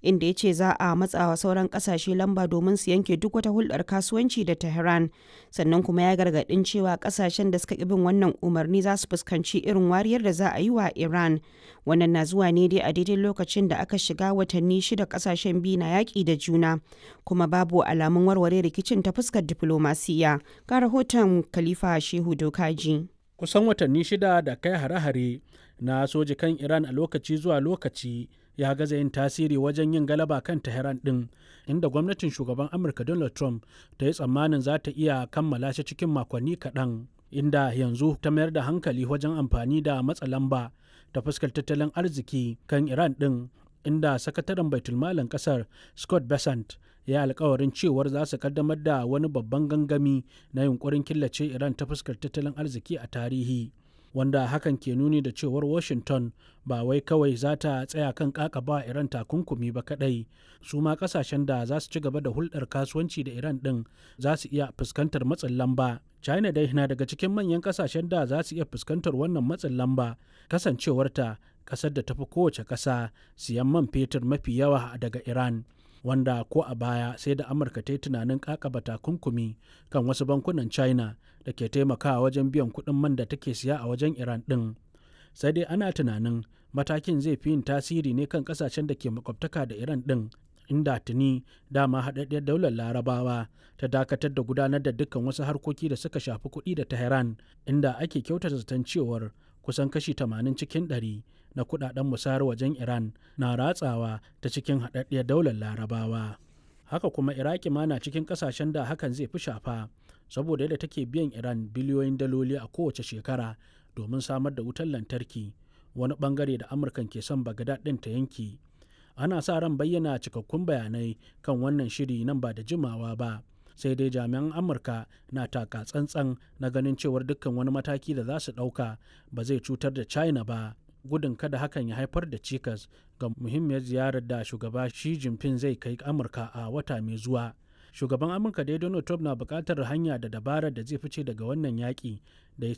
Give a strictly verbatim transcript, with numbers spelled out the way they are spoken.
Inda ya ce za a matsawa sauran kasashe lamba domin su yanke duk wata hulɗar kasuwanci da Tehran. Sannan kuma ya gargaɗin cewa kasashen da suka ƙi bin wannan umarni za su fuskanci irin wariyar da za a yi wa Iran. Wannan na zuwa ne dai a daidai lokacin da aka shiga watanni shida kasashen biyu na yaƙi da juna, kuma babu alamun warware rikicin ta fuskar diflomasiya. Ga rahoton Khalifa Shehu Dokaji. Kusan watanni shida da kai hare-hare na soji kan Iran a lokaci zuwa lokaci ya gaza yin tasiri wajen yin galaba kan Tehran din, inda gwamnatin shugaban Amurka Donald Trump ta yi tsammanin za ta iya kammala shi cikin makonni kaɗan, inda yanzu ta mayar da hankali wajen amfani da matsa lamba ta fuskar tattalin arziki kan Iran din, inda sakataren baitulmalin kasar Scott Bessent ya alkawarin cewar za su kaddamar da wani babban gangami na yunkurin killace Iran ta fuskar tattalin arziki a tarihi, wanda hakan ke nuni da cewar Washington ba wai kawai za ta tsaya kan kakaba Iran takunkumi ba kadai, su ma kasashen da za su ci gaba da hulɗar kasuwanci da Iran din za su iya fuskantar matsin lamba. China dai na daga cikin manyan kasashen da za su iya fuskantar wannan matsin lamba, kasancewarta kasar da tafi kowace kasa siyan man fetur mafi yawa daga Iran, wanda ko a baya sai da Amurka ta yi tunanin kakaba takunkumi kan wasu bankunan China da ke taimakawa wajen biyan kuɗin man da take siya a wajen Iran ɗin. Sai dai ana tunanin matakin zai fi yin tasiri ne kan kasashen da ke makwabtaka da Iran ɗin, inda tuni dama haɗaɗɗiyar Daular Larabawa ta dakatar da gudanar da dukkan wasu harkoki da suka shafi kuɗi da Tehran, inda ake kyautata zaton cewar kusan kashi tamanin cikin ɗari na kudaden musayar wajen Iran na ratsawa ta cikin haɗaɗɗiyar Daular Larabawa. Haka kuma Iraki ma na cikin ƙasashen da hakan zai fi shafa, saboda yadda take biyan Iran biliyoyin daloli a kowace shekara domin samar da wutar lantarki, wani bangare da Amurkan ke son Bagdad ɗin ta yanki. Ana sa ran bayyana cikakkun bayanai kan wannan shiri nan ba da jimawa ba. Sai dai jami'an Amurka na taka tsantsan na ganin cewar dukkan wani mataki da za su ɗauka ba zai cutar da China ba, gudun kada hakan ya haifar da cikas ga muhimmiyar ziyarar da shugaba Xi Jinping zai kai Amurka a wata mai zuwa. Shugaban Amurka dai Donald Trump na buƙatar hanya da dabarar da zai fice daga wannan yaƙi da ya